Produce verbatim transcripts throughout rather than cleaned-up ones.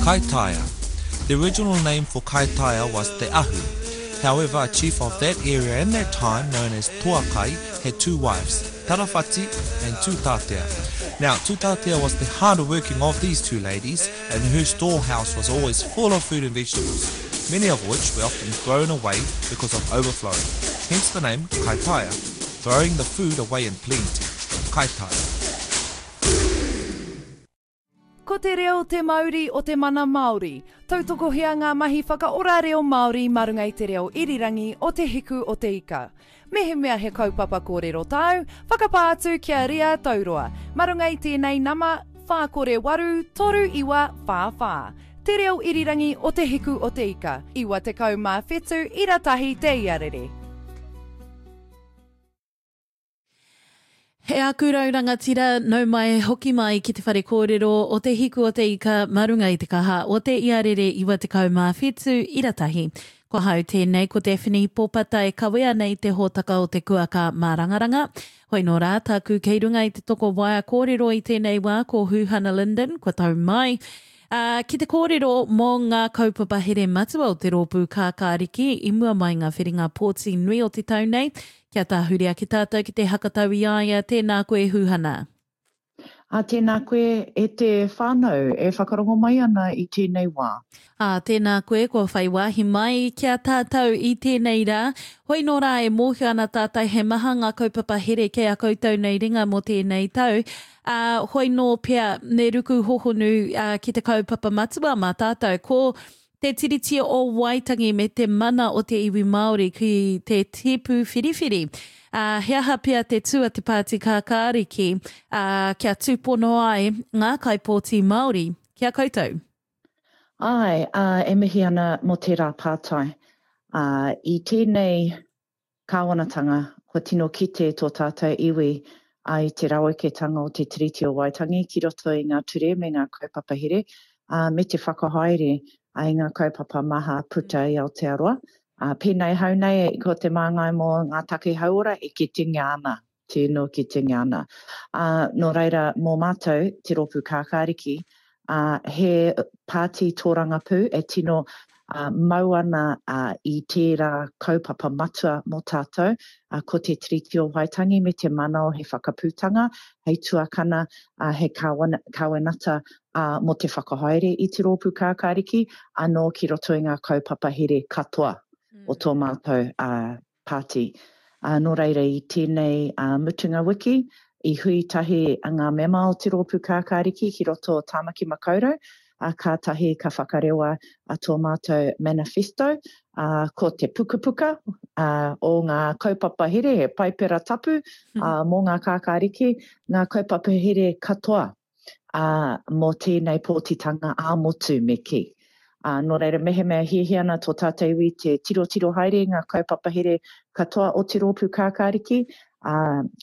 Kaitaia. The original name for Kaitaia was Te Ahu. However, a chief of that area in that time, known as Toakai, had two wives, Tarawhati and Tutatea. Now, Tutatea was the harder working of these two ladies, and her storehouse was always full of food and vegetables, many of which were often thrown away because of overflowing. Hence the name Kaitaia, throwing the food away in plenty. Kaitaia. Ko te reo te mauri o te mana Māori. Tautokohia ngā mahi whakaora reo Māori mā runga i te reo irirangi o Te Hiku o Te Ika. Mehemea he kaupapa kōrero tāu, whakapā atu ki a Ria Tauroa. Mā runga i tēnei nama, whā kore waru, toru iwa, whā whā. Te reo irirangi o Te Hiku o Te Ika, iwa tekau mā whitu ira tahi te iarere. He aku rau rangatira, nau mai, hoki mai ki te whare kōrero o Te Hiku o Te Ika mā runga i te kaha o te iarere iwa tekau mā whitu ira tahi. Ko hau tēnei, ko Daphne Popata e kawea nei te hōtaka o te kuaka mārangaranga. Hoi nō rā, tāku kei runga i te toko waea kōrero i tēnei wā ko Huhana Lyndon, kua tau mai. Uh, ki te kōrero mō ngā kaupapa here matua o te rōpū kākāriki i mua mai ngā whiringa pōti nui o te tau nei, kia tāhuri ake tātou ki te hakatau i a ia, tēnā koe Huhana. Ā, tēnā koe e te whānau e whakarongo mai ana i tēnei wā. Ā, tēnā koe kua whai wāhi mai ki a tātou i tēnei rā. Hoi nō rā e mōhio ana tātou he maha ngā kaupapa here kei a koutou nei ringa mō tēnei tau. Ā, hoi nō pea me ruku hohonu ā, ki te kaupapa matua mā tātou. Ko te Tiriti o Waitangi me te mana o te iwi Māori ki te tipu whiriwhiri. Ā, he aha pea te tū a te Pāti Kākāriki, ā, kia tūpono ai ngā kaipōti Māori ki a koutou? Āe, ā, e mihi ana mō tērā pātai. Ā, i tēnei kāwanatanga, kua tino kite tō tātou iwi ā, i te raweketanga o te Tiriti o Waitangi ki roto i ngā ture me ngā kaupapa here, ā, me te whakahaere ā, i ngā kaupapa maha puta i Aotearoa. Ā, pēnei hau nei, ko te māngai mō ngā take hauora e kitengia ana, tino kitengia ana. Ā, nō reira, mō mātou, te Rōpū Kākāriki, ā, he pāti tōrangapū e tino ā, mau ana ā, i tērā kaupapa matua mō tātou, ā, ko te Tiriti o Waitangi me te mana o he whakaputanga, hei tuakana, ā, he kāwana, kāwenata ā, mō te whakahaere i te Rōpū Kākāriki, anō ki roto i ngā kaupapa here katoa o tō mātou ā, pāti. Ā, nō reira i tēnei ā, mutunga wiki, i hui tahi ngā mema o te Rōpū Kākāriki ki roto o Tāmaki Makaurau, ā, kātahi ka whakarewa a tō mātou manifesto, ā, ko te pukapuka ā, o ngā kaupapa here, he paipera tapu ā, mō ngā kākāriki, ngā kaupapa here katoa ā, mō tēnei pōtitanga ā-motu me kī. Ā, nō reira, mehemea hiahia ana tō tātou iwi te tirotiro haere i ngā kaupapa here katoa o te Rōpū Kākāriki, ā,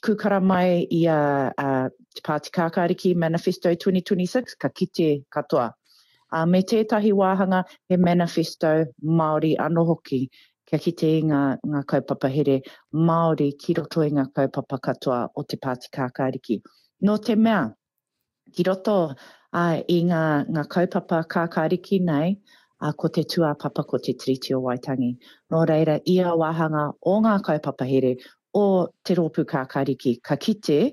kūkara mai i a, a Te Pāti Kākāriki Manifesto twenty twenty-six, ka kite katoa. Ā, me tētahi wāhanga he manifesto Māori anō hoki, kia kite i ngā, ngā kaupapa here Māori ki roto i ngā kaupapa katoa o Te Pāti Kākāriki. Nō te mea, ki roto ā, i ngā, ngā kaupapa kākāriki nei, ā, ko te tūāpapa ko te Tiriti o Waitangi. Nō reira, ia wāhanga o ngā kaupapa here o te Rōpū Kākāriki ka kite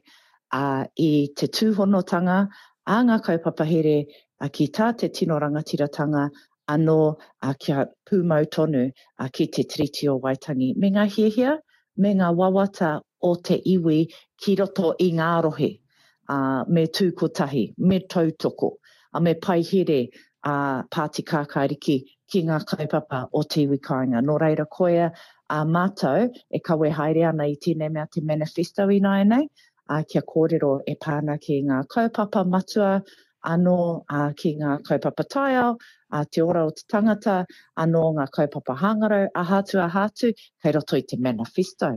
ā, i te tūhonotanga a ngā kaupapa here ā, ki tā te tino rangatiratanga anō ā, kia pūmau tonu ā, ki te Tiriti o Waitangi me ngā hiahia me ngā wawata o te iwi ki roto i ngā rohe. Ā, me tū kotahi, me tautoko, ā, me paihere a Pāti Kākāriki ki ngā kaupapa o te iwi kāinga. Nō reira, koia a mātou e kawe haere ana i tēnei mea te manifesto ināianei, ā, kia kōrero e pā ana ki ngā kaupapa matua anō, ā, ki ngā kaupapa taiao, ā, te ora o te tangata, anō ngā kaupapa hangarau, aha atu, aha atu, kei roto i te manifesto.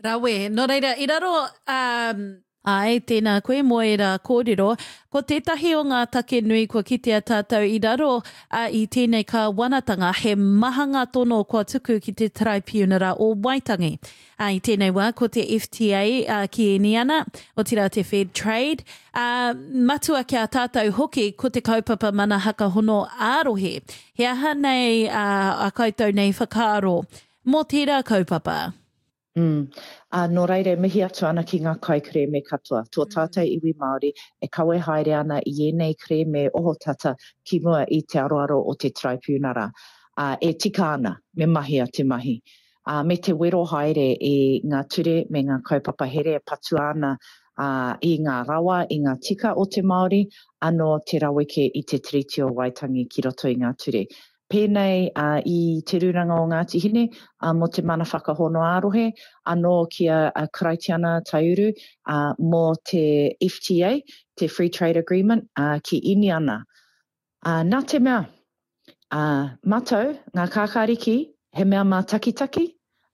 Rawe. Nō reira, i raro, um, Āe, tēnā koe mō ērā kōrero. Ko tētahi o ngā take nui kua kitea tātou i raro a, i tēnei kāwanatanga, he maha ngā tono kua tuku ki te Taraipiunara o Waitangi. Ā, i tēnei wā, ko te F T A a, ki Iniana, otirā te Fair Trade, ā, matua ki a tātou hoki ko te kaupapa mana hakahono ā-rohe. He aha nei a, a koutou nei whakaaro mō tērā kaupapa? Mm. Uh, nō reira, mihi atu ana ki ngā kaikerēme katoa. Tō tātou iwi Māori e kawe haere ana i ēnei kerēme ohotata ki mua i te aroaro o te Taraipiunara. Uh, e tika ana, me mahia te mahi. Uh, me te wero haere i ngā ture me ngā kaupapa here e patua ana uh, i ngā rawa, i ngā tika o te Māori, anō te raweke i te Tiriti o Waitangi ki roto i ngā ture. Pēnei uh, i Te Rūnanga o Ngāti Hine uh, mō te mana whakahono ā-rohe, anō ki a, a Karaitiana Taiuru uh, mō te F T A, te Free Trade Agreement, uh, ki Iniana. Uh, nā te mea, uh, mātou, ngā kākāriki, he mea mātakitaki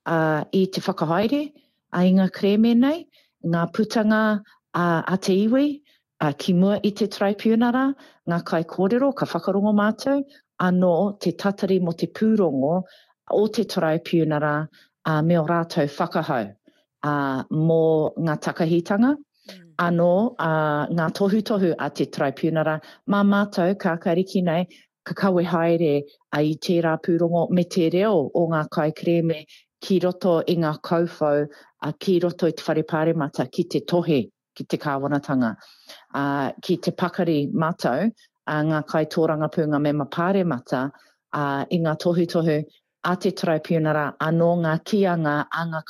uh, i te whakahaere uh, i ngā kerēme nei, ngā putanga uh, a te iwi, uh, ki mua i te Taraipiunara, ngā kaikōrero, ka whakarongo mātou, anō te tatari mō te pūrongo o te Taraipiunara uh, me o rātou whakahau uh, mō ngā takahitanga, mm. anō uh, ngā tohutohu a te Taraipiunara, mā mātou kākāriki nei, ka kawe haere uh, i tērā pūrongo me te reo o ngā kaikerēme ki roto i ngā kauwhau, uh, ki roto i te whare pāremata, ki te tohe, ki te kāwanatanga, uh, ki te pakari mātou, uh, ngā kaitōrangapū, ngā mema pāremata, uh, i ngā tohutohu a te Taraipiunara, anō ngā kīanga a ngā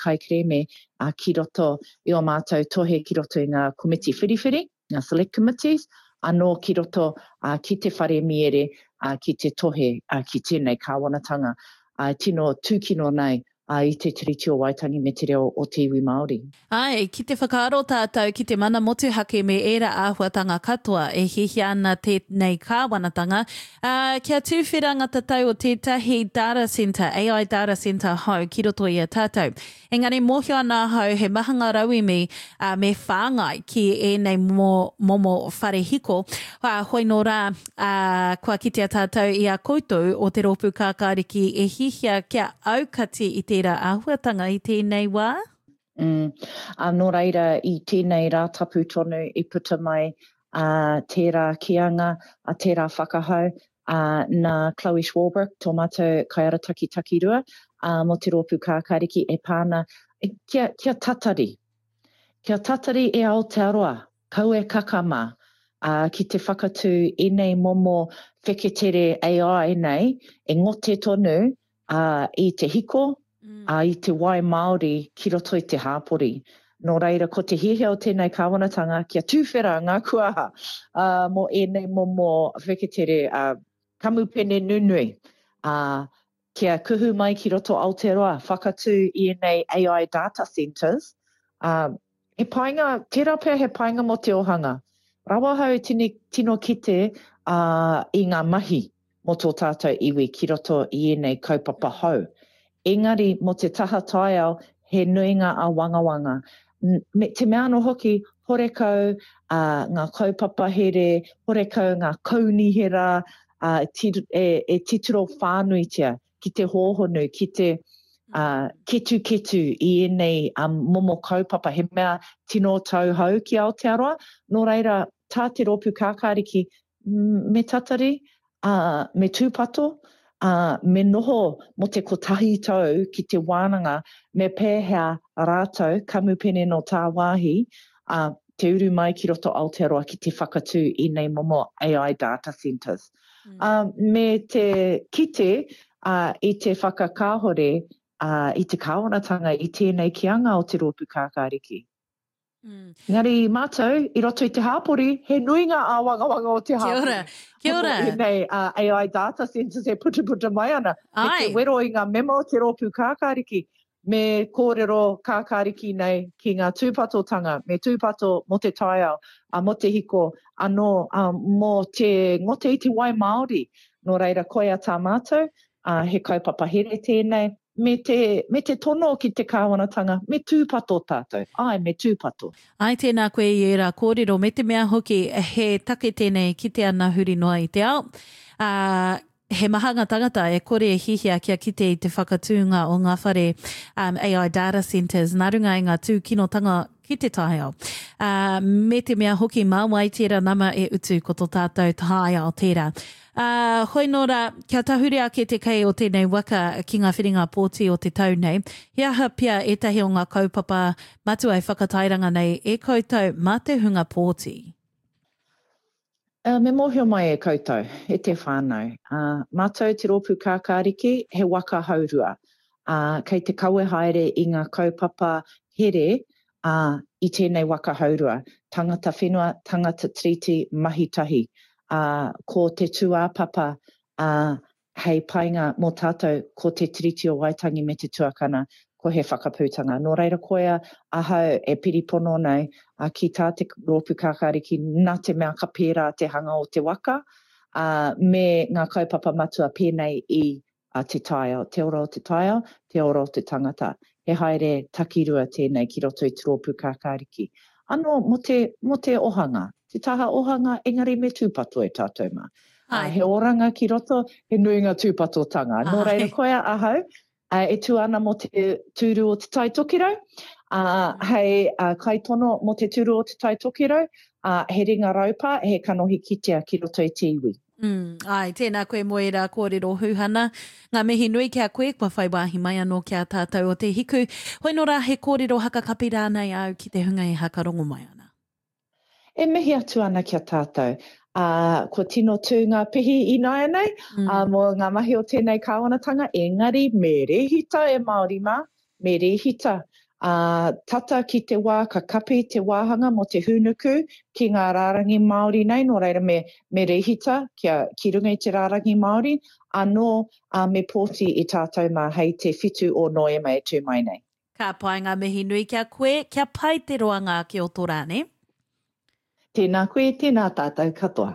kaikerēme uh, ki roto i o mātou tohe ki roto i ngā komiti whiriwhiri, ngā select committees, anō ki roto uh, ki te whare miere, uh, ki te tohe, uh, ki tēnei kāwanatanga. Uh, tino tūkino nei uh, i te Tiriti o Waitangi me te reo o te iwi Māori. Ai, ki te whakaaro tātou ki te mana motuhake me ērā āhuatanga katoa e hiahia ana tēnei kāwanatanga, uh, kia tūwhera ngā tatau o tētahi data center, A I data center hou ki roto i a tātou. Engari mōhio ana ahau he maha ngā rauemi uh, me whāngai ki ēnei mo, momo whare hiko. Uh, hoi nō rā, uh, kua kitea tātou i a koutou o te rōpū kākāriki e hiahia kia aukati i tērā āhuatanga i tēnei wā? Mm. Uh, nō reira, i tēnei rātapu tonu i puta mai uh, tērā kīanga, uh, tērā whakahau, uh, nā Chloe Schwalbrook, tō mātou kaiarataki takirua, uh, mō te rōpū kākāriki e pāna, kia, kia tatari. Kia tatari e Aotearoa, kau e kakama, uh, ki te whakatū ēnei momo wheketere A I nei, e ngote tonu uh, i te hiko, mm. uh, i te wai Māori ki roto i te hāpori. Nō reira, ko te hiahia o tēnei kāwanatanga kia tūwhera ngā kuaha uh, mō ēnei momo wheketere uh, kamupene nunui. Uh, kia kuhu mai ki roto Aotearoa, whakatū i ēnei A I data centers. Uh, he painga, tērā pea he painga mō te ohanga. Rawa hau tini, tino kite uh, i ngā mahi mō tō tātou iwi ki roto i ēnei kaupapa hou. Engari mō te taha taiao, he nui ngā āwangawanga. Me te mea anō hoki, horekau uh, ngā kaupapa here, horekau ngā kaunihera, uh, ti, e, e titiro whānuitia ki te hōhonu, ki te uh, ketuketu i ēnei um, momo kaupapa, he mea tino tauhou ki Aotearoa. Nō reira, tā te rōpū kākāriki, me tatari, uh, me tūpato, uh, me noho mō te kotahi tau ki te wānanga, me pēhea rātou, kamupene no tāwāhi, uh, te uru mai ki roto Aotearoa ki te whakatū i nei momo A I data centers. Mm. Um, me te kite uh, i te whakakāhore uh, i te kāwanatanga i tēnei kianga o te rōpū kākāriki. Mm. Engari mātou, i roto i te hāpori, he nui ngā āwangawanga o te hāpori. Kia ora, kia ora. Nei, uh, A I data centers e putaputa mai ana. Ai. Me te wero i ngā mema o te rōpū kākāriki, me kōrero kākāriki nei ki ngā tūpatotanga, me tūpato mō te taiao, uh, mō te hiko, anō uh, mō te ngote i te wai Māori. Nō reira, koia tā mātou, uh, he kaupapa here tēnei, me te, me te tono ki te kāwanatanga, me tūpato tātou. Āe, me tūpato. Āe, tēnā koe i ērā kōrero, me te mea hoki he take tēnei kite ana huri noa i te ao. Ā, he maha ngā tangata e kore e hihia kia kite i te whakatūnga o ngā whare um, AI data centres nā runga i ngā tūkinotanga ki te taiao. Uh, me te mea hoki mā wai tērā nama e utu ko tō tātou taiao tērā. Uh, hoi nō rā, kia tahuri ake te kei o tēnei waka ki ngā whiringa pōti o te tau nei, he aha pea ētahi o ngā kaupapa matua e whakatairanga nei e koutou mā te hunga pōti? Uh, me mōhio mai e koutou, e te whānau. Uh, mātou te rōpū kākāriki, he waka haurua. Uh, kei te kawe haere i ngā kaupapa here uh, i tēnei waka haurua. Tangata whenua, tangata tiriti, mahi tahi. Uh, ko te tūāpapa uh, hei painga mō tātou ko te Tiriti o Waitangi me te tuakana, ko he whakaputanga. Nō reira koia ahau e piripono nei a, ki tā te rōpū kākāriki nā te mea ka pērā te hanga o te waka, a, me ngā kaupapa matua pēnei i a, te taiao, te ora o te taiao, te ora o te tangata. He haere takirua tēnei ki roto i te rōpū kākāriki. Anō mō te, mō te ohanga, te taha ohanga, engari me tūpato e tātou mā. Ā, he oranga ki roto, he nui ngā tūpatotanga. Nō reira koia ahau, e tū ana mō te tūru o Te Tai Tokerau, ā, hei kaitono mō te tūru o Te Tai Tokerau, ā, he ringa raupa, he kanohi kitea ki roto i te iwi. Mm, āe, tēnā koe mō ērā kōrero Huhana. Ngā mihi nui ki a koe, kua whai wāhi mai anō ki a tātou o Te Hiku. Hoi nō rā, he kōrero hakakapi rānei āu ki te hunga e hakarongo mai ana? E mihi atu ana ki a tātou. Ā, kua tino tū ngā pihi ināianei, mm. ā, mō ngā mahi o tēnei kāwanatanga, engari me rēhita e Māori mā, me rēhita. Ā, tata ki te wā ka kapi te wāhanga mō te hūnuku ki ngā rārangi Māori nei, nō reira me, me rēhita kia, ki runga i te rārangi Māori, anō, ā, me pōti i tātou mā hei te whitu o Noema e tū mai nei. Ka pai ngā mihi nui ki a koe, kia pai te roanga ake o tō rā, nē? Tēnā koe, tēnā tātou katoa.